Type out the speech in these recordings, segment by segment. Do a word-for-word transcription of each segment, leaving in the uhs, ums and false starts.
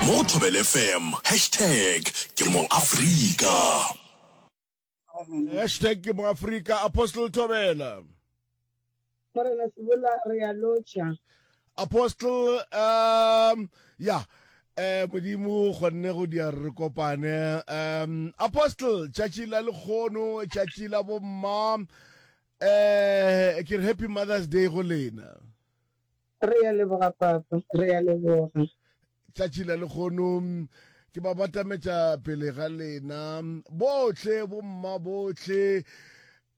Mo go Thobela F M, hashtag ke mo Afrika. Hashtag ke mo Afrika. Apostle Thobela. Morena Sebola, re a lotšha. Apostle, um ya eh Modimo kgonne go dia re kopane. um Apostle, tšatši la lekgono, tšatši la bomma, eh ke re Happy Mother's Day go lena. Re a leboga, papa, re a leboga. Tšatši la lekgono ke ba batametša pele ga lena bohle, bomma bohle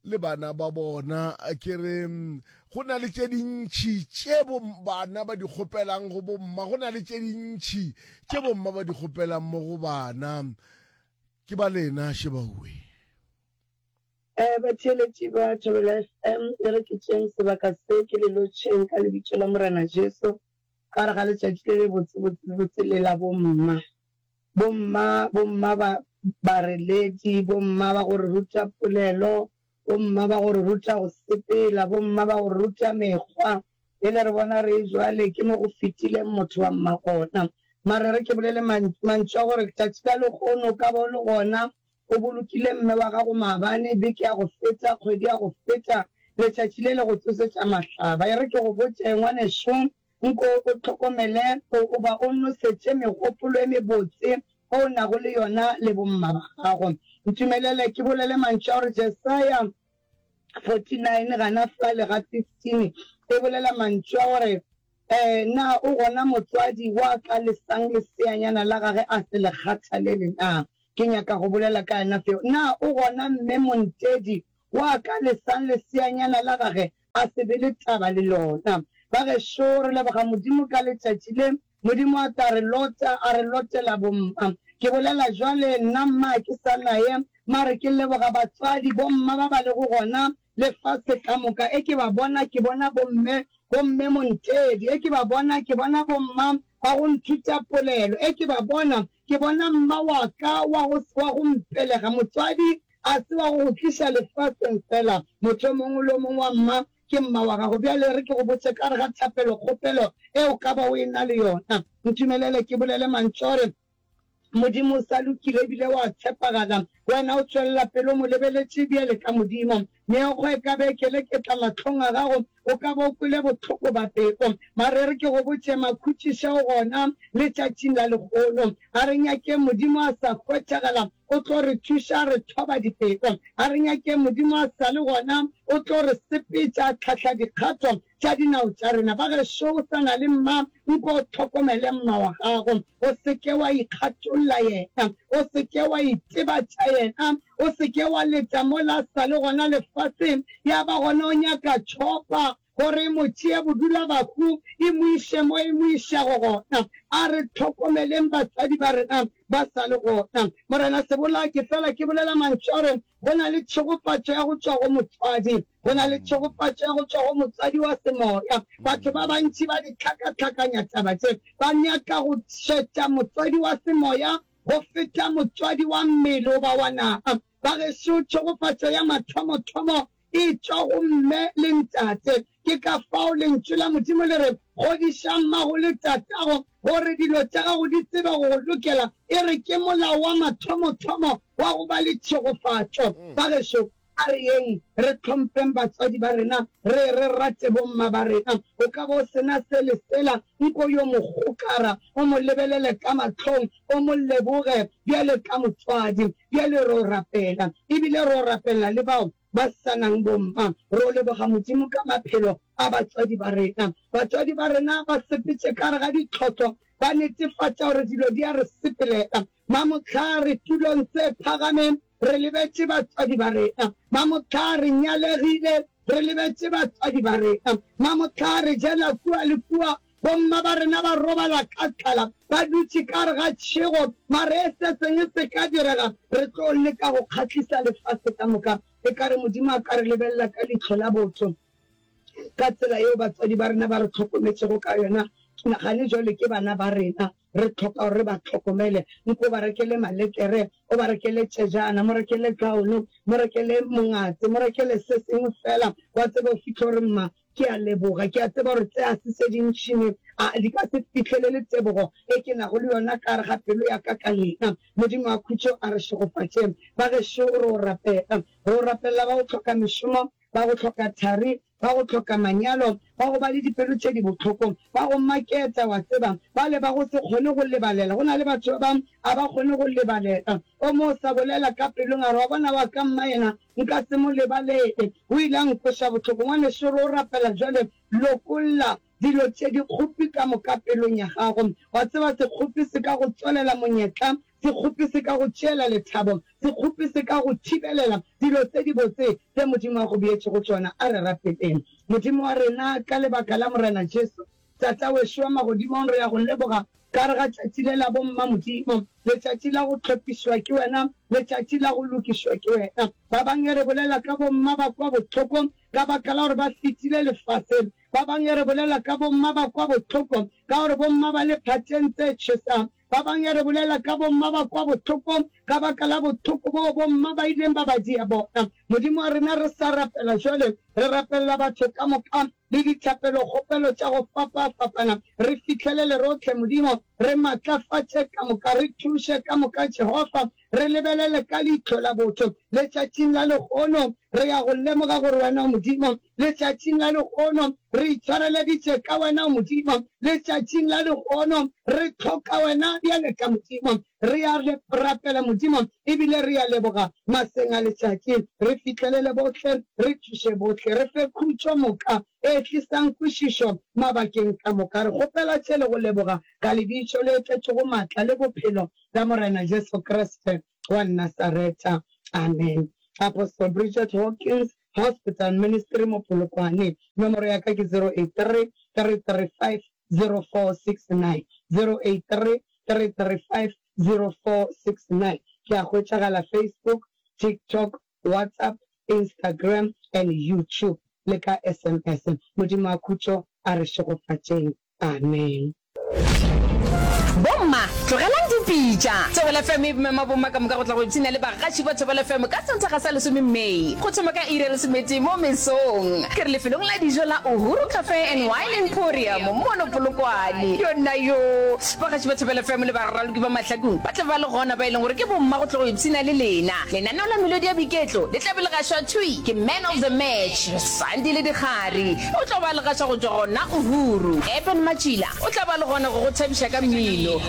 le bana ba bona. Ke re go na le tše dintšhi tše bo bana ba di kgopelang go bomma, go na le tše dintšhi tše bomma ba di kgopelang mo go bana. Ke ba lena šebaue. um Batheeletši ba Thobela F M, e re ke tšeng sebaka se ke le lotšheng ka lebitso la Morena Jesu ka re ga letšatši le le botsebotsebotse le la bomma. Bomma, bomma ba bareledi, bomma ba go re ruta polelo, bomma ba go re ruta go sepela, bomma ba go re ruta mekgwa. Pele re bona re jwale ke mo go fetileng motho wa mma gona. Mare re ke bolele mantšu a gore tšatši la lekgono ka ba o le gona o bolokile mme wa gago maabane, beke ya go feta, kgwedi ya go feta, letšatši le le go tsosetša mahlaba. E re ke go botše, ngwanešo, nko o tlhokomele o ba o nosetše megopolo e mebotse o nago le yona le bomma ba gago. Ntumelele ke bolele mantšu a gore Jesaya forty-nine gana fale ga fifteen e bolela mantšu a gore um na o gona motswadi wa ka lesang leseanyana la gage a se le kgathalele na? Ke nyaka go bolela ka yena feo. Na o gona mme montedi wa ka lesang leseanyana la gage a se be le taba le lona? Ba gešo, re leboga Modimo ka letšatši le Modimo a tla re lota, a re lotela bomma. Ke bolela jwale nna mma ke sa naye, mare ke leboga batswadi bomma ba ba lego gona lefase ka moka. E ke ba bona, ke bona bomme, bomme montedi. E ke ba bona, ke bona bomma ba go nthuta polelo. E ke ba bona, ke bona mma wa ka wa go wa go mpelega. Motswadi a se wa go go tliša lefaseng fela, motho o mongwe le o mongwe wa mma ke mma wa gago. Bjale re ke go botše ka re ga thapelo kgopelo e o ka ba o e na le yona. Ntumelele ke bolele mantšu a gore Modimo o sa lokile ebile wa tshepagala. Wena o tšwelela pele o mo lebeletše bjale ka Modimo. Meokgo e ka be e keleketla mahlong a gago, o ka ba o kwele bohloko ba pelo. Mare re ke go botše, makhutšiša o gona letšatšing la lekgono. A re nyakeng Modimo a sa hwetšagala, o tlo re thuša re thoba dipelo. A re nyakeng Modimo a sa le gona, o tlo re sepetša a tlhahla dikgato tša dinao tša rena. Ba gešo, o sa na le mma, nko o tlhokomele mma wa gago. O se ke wa ikgatolla yena, o se ke wa itebatša yena, o se ke wa leta mola a sa le gona lefaseng, ya ba gona o nyaka tšhopa gore e mo tšee bodula bahu e mo iše mo e mo išago gona. A re tlhokomeleng batswadi ba rena ba sa le gona. Morena Sebola, ke fela ke bolela mantšu a gore go na le tšhegofatšo ya go tšwa go motswadi, go na le tšhegofatšo ya go tšwa go motswadi wa semoya. Batho ba bantši ba di tlhakatlhakanya taba tše, ba nyaka go šetša motswadi wa semoya go feta motswadi wa mmele goba wa nama. Ba gešo, tšhegofatšo ya mathomothomo e tšwa go mme le ntate. Ke ka fao lentšu la Modimo le re, Godiša mmago le tatago, gore dilo tša gago di tsebe go go lokela. E re ke molao wa mathomothomo wa go ba le tšhegofatšo. Ba gešo, a re yeng re hlompheng batswadi ba rena, re re rate bomma ba rena. O ka ba o sena se le sela, nko yo mo gokara, o mo lebelele ka mahlong, o mo leboge bjale ka motswadi. Bjale ro rapela, ebile ro rapela le bao ba sa nang bomma. Ro leboga Modimo ka maphelo a batswadi ba rena. Batswadi ba rena ba sepetše ka gare ga ditlhotlo, ba netefatša gore dilo di a re sepelela. Mamohla re tulong tse phagameng, re lebetše batswadi ba rena. Mamohla re nyalegile, re lebetše batswadi ba rena. Mamohla re jela kua le kua, bomma ba rena ba robala ka tlala, ba dutše ka gare ga tšhego. Mare e se sengwe se ka direga, re tlo leka go kgahlisa lefase ka moka. E ka re Modimo a ka re lebelela ka leihlo la botho, ka tsela yeo batswadi ba rena ba re tlhokometšego ka yona. Nagane jwale ke bana ba rena, re tlhoka gore re ba tlhokomele. Nko ba rekele malekere, o ba rekele tšejana, mo rekele kaono, mo rekele mongatse, mo rekele se sengwe fela. Wa tseba o fihle gore mma Ke a leboga. Ke a tseba gore tse a se se dintši me a di ka se fihlelele tebogo e ke nago le yona ka gare ga pelo ya ka ka lena. Modimo wa khutšo a re šegofatše. Bagešo, re o rapela. Re o rapelela ba go hloka mešomo, ba go hloka thari, ba go hloka manyalo, ba go ba le dipelo tše di bohloko, ba go maketa, wa tseba, bale ba go se kgone go lebalela. Go na le batho ba bang a ba kgone go lebalela. O mo sa bolela ka pelong a re, Wa bona, wa ka mma yena nka se mo lebalele. O ile a nkweša bohloko. Ngwanešu, re o rapela bjale, lokolla dilo tše dikgopi ka moka pelong ya gago. Wa tseba, sekgopi se ka go tswalela monyetla, sekgopi se ka go tšeela lethabo, sekgopi se ka go thibelela dilo tse dibotse tse Modimo a go beetšego tšona. A re rapeleng. Modimo wa rena, ka lebaka la Morena Jesu, Tata wešo wa Magodimong, re a Go leboga ka gare ga tšatši le la bomma, Modimo, letšatši la go hlophišwa ke Wena, letšatši la go lokišwa ke Wena. Ba bangwe re bolela ka bomma ba kwa bohloko ka baka la gore ba fetile lefaseng. Ba bangwe re bolela ka bomma ba kwa bohloko ka gore bomma ba le phateng tse tšhesang. Ba bangwe re bolela ka bomma ba kwa bohloko ka baka la bohloko boo bomma ba ileng ba ba dia bona. Modimo wa rena, re sa rapela jwale, re rapelela batho ka moka le dithapelokgopelo tša go fapafapana. Re fihlelele rohle, Modimo, re matlafatše ka moka, re thuše ka moka, Jehofa. Re lebelele ka leihlo la botho. Letšatšing la lehono, re ya go lemoga gore Wena o Modimo. Letšatšing la lehono, re itshwareleditše ka Wena, o Modimo. Letšatšing la lehono, re hloka Wena bjale ka Modimo. Re a rapela, Modimo, e bile re a leboga maseng a letšatši. Re fihlelele bohle, re thuše bohle. Re fe khutšo moka e tlisang kwešišo mabakeng ka moka. Re kgopela tše le go leboga ka Lebitso le tletšego matla le bophelo la Morena Jesu Kriste wa Nasaretha. Amen. Apostle Bridget Hawkins, Hospital Ministry mo Polokwane. Nomoro ya ka ke zero eight three, three three five, zero four six nine, zero eight three, three three five, zero four six nine. Ke a hwetšagala Facebook, TikTok, WhatsApp, Instagram and YouTube le ka S M S. Modimo wa khutšo a re šegofatšeng. Amen. Bomma, tlogelang dipitša. Thobela F M e mema bomma ka moka go tla go ipshina le bagaši ba Thobela F M ka Sontaga sa lesome May go thoma ka iri ya lesometee mo mesong. Ke re lefelong la dijo la Uhuru Cafe and Wine Emporium mono Polokwane. Yona yo! Bagaši ba Thobela F M le baraloki ba Mahlakung ba tla ba le gona ba e leng gore ke bomma go tlo go ipshina le lena. Lenaneo la melodi ya boiketlo le tla be le gašwa thwi ke Man of the Match Sandile Dikgari. O tlo ba le gaša go tšwa gona Uhuru. Eben Matšila o tla ba le gona go go thabiša ka mmino. Gore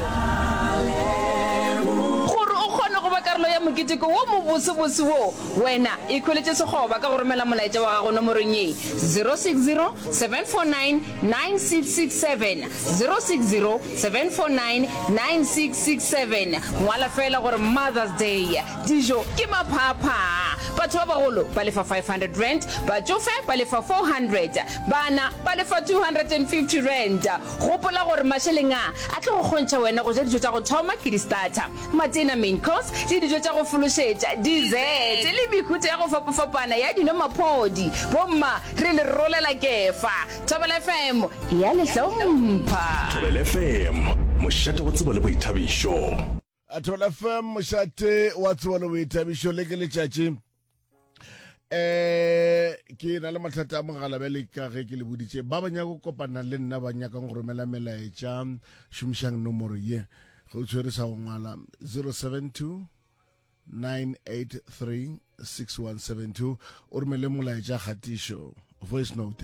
o kgone go ba karolo ya moketeko wo mobosebose wo, wena ikhweletše sekgoba ka go romela molaetša wa gago nomorong ye, zero six zero, seven four nine, nine six six seven, zero six zero, seven four nine, nine six six seven. Ngwala feela gore Mother's Day. Dijo ke maphaaphaa. Batho ba bagolo ba lefa five hundred rand, batšofe ba lefa four hundred, bana ba lefa two hundred and fifty rand. Gopola gore mašeleng a a tlo go kgontšha wena go ja dijo tša go thoma ke di-starter, matena, main course, le dijo tša go fološetša, dessert, le mehuta ya go fapafapana ya dino maphodi. Bomma, re le rolela kefa. Thobela F M e a le hlompha. Thobela F M, mošate wa tsebo le boithabišo. Thobela F M, mošate wa tsebo le boithabišo. Le ke letšatši. Eh, ke na le mathata a mogala bjale ka ge ke le boditše. Ba ba nyaka go kopana le nna, ba nyakang go romela melaetša, šomišang nomoro ye. Ge o tshwere sa go ngwala, zero seven two, nine eight three, six one seven two, o romele molaetša kgatišo, voice note.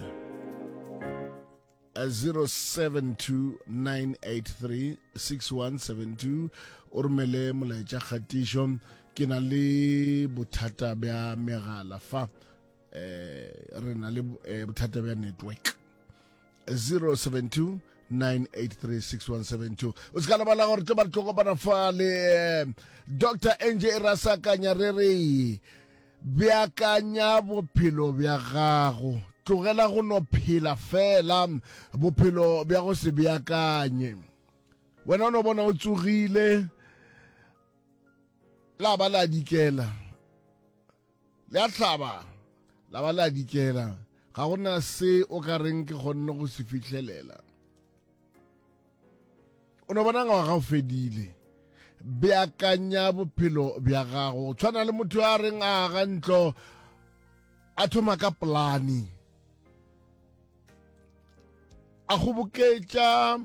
Zero seven two, nine eight three, six one seven two, o romele molaetša kgatišo. Ke na le bothata bja megala fa, eh, re na le, eh, bothata bja network. Zero seven two, nine eight three, six one seven two. O se ka lebala gore tlo ba re tlo kopana fa le, eh, Doctor N J Rasakanya, re re beakanya bophelo bja gago, tlogela go no phela fela bophelo bja go se beakanye. Wena o no bona o tsogile, la ba la dikela, le a hlaba, la ba la dikela, ga gona se o ka reng ke kgonne go se fihlelela. O no bona ngwaga o fedile. Beakanya bophelo bja gago. Tshwana le motho a reng a aga ntlo, a thoma ka polane. A kgoboketša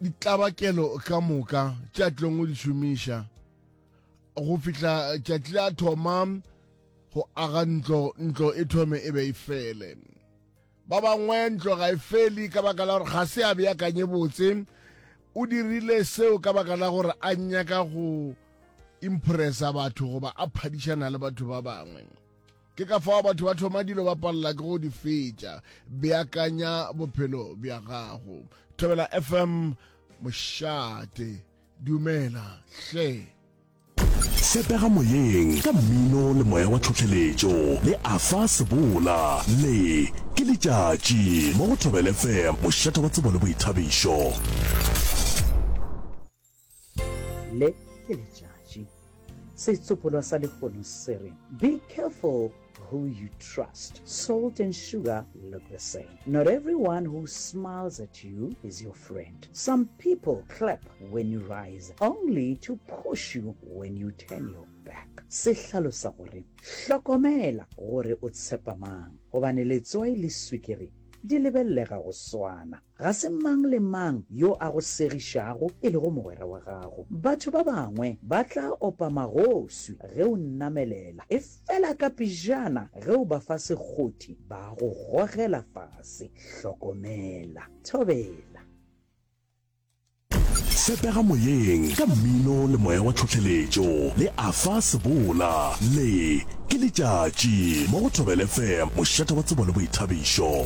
ditlabakelo ka moka tše a tlilong go di šomiša go fihla tšatši la thoma go aga ntlo, ntlo e thome e be e fele. Ba bangwe ntlo ga e fele ka baka la gore ga se a beakanye botse, o dirile seo ka baka la gore a nyaka go impressa batho goba a phadišana le batho ba bangwe. Ke ka fao batho ba thoma dilo ba palela ke go di fetša. Beakanya bophelo bja gago. Thobela F M mošate. Dumela hle. Fepega moyeng ka mmino le moya wa tlhohleletšo le Arthur Sebola. Le ke letšatši mo go Thobela F M, mošate wa tsebo le boithabišo. Le ke letšatši. Setsopolwa sa lehono se re, Be careful who you trust. Salt and sugar look the same. Not everyone who smiles at you is your friend. Some people clap when you rise, only to push you when you turn your back. Se hlalosa gore, Hlokomela gore o tshepa mang, gobane letswai le swikiri di lebelelega go swana. Ga se mang le mang yo a go segišago e lego mogwera wa gago. Batho ba bangwe ba tla opa magoswi ge o namelela, efela kapejana ge o ba fa sekgothi ba go gogela fase. Hlokomela. Thobela. Fepega moyeng ka mmino le moya wa tlhohleletšo le Arthur Sebola. Le ke letšatši mo go Thobela F M, mošate wa tsebo le boithabišo.